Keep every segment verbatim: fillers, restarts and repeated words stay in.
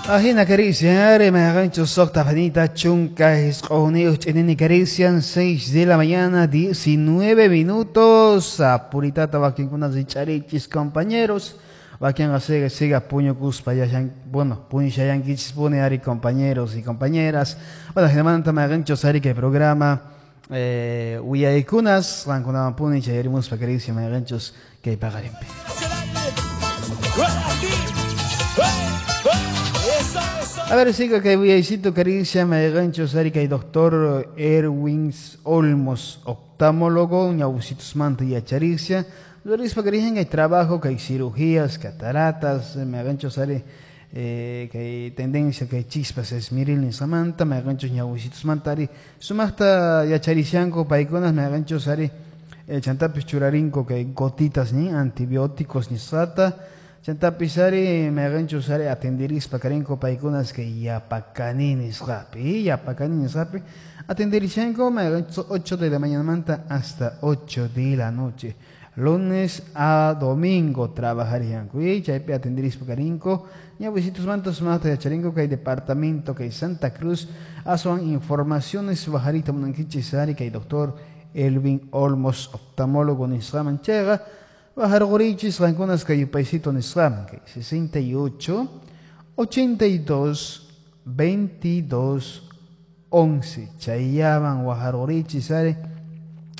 Ajina carician, me socta panita chunca esq'uniyuq carician, seis de la mañana, diecinueve minutos. Apuritata wakinkuna richarichis compañeros. Wakinqa siga siga puñukuspa yashan, bueno, puñushayankichis puni ari compañeros y compañeras. Bueno, jinamanta mayqinchus ari kay programa eh, uyaykunas qankunawan puni chayarimuspa carician mayqinchus kay paqarinpi. A ver, sigo que voy caricia, me gancho sari que doctor Erwin Olmos, oftalmólogo, ñawsitos manta y acharicia. Luis que hay trabajo, que hay cirugías, cataratas, me gancho sari eh, que hay tendencia, que hay chispas, esmiril ni samanta, me gancho ñawsitos mantari. Sumasta yacharicianco, paiconas, me gancho sari, eh, chantapis churarinco, que hay gotitas ni antibióticos ni sata. Chantapisari me gancho sari atenderispa karinko paikunas que yapacaninis rapi, yapacaninis rapi, atenderishanko me gancho ocho de la mañana manta hasta ocho de la noche. Lunes a domingo trabajarían. Y chaypi atenderispa karinko, ñawisitos mantos mata de charinko que hay departamento que hay Santa Cruz, asuan informaciones bajarita munankichis sari que hay doctor Elvin Olmos, oftalmólogo nisraman chega. Bajar gorichis, ranconas que paisito nisram, que sesenta y ocho, ochenta y dos, veintidós, once. Chayaban bajar gorichis, are,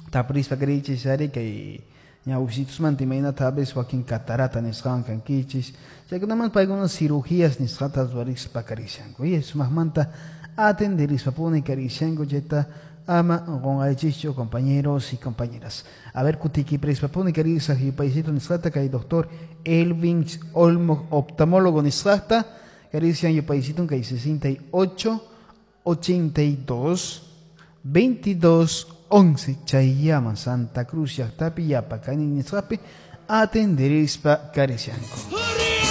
taprispa grichis, are, que ñausitos mantimaina tabes, joaquín catarata nisram, canquichis. Chayaman pa algunas cirugías nisratas varis pacaricianco. Y es más manta atender pone caricianco, yeta. Ama con aichicho, compañeros y compañeras. A ver, kutiki prespapone carisa y paisito nisrata que hay doctor Elvin Olmo, oftalmólogo nisrata, carician y paisito que hay sesenta y ocho, ochenta y dos, veintidós, once. Chayama, Santa Cruz, Yactapi, Yapacani, Nisrapi, atenderispa caricianco.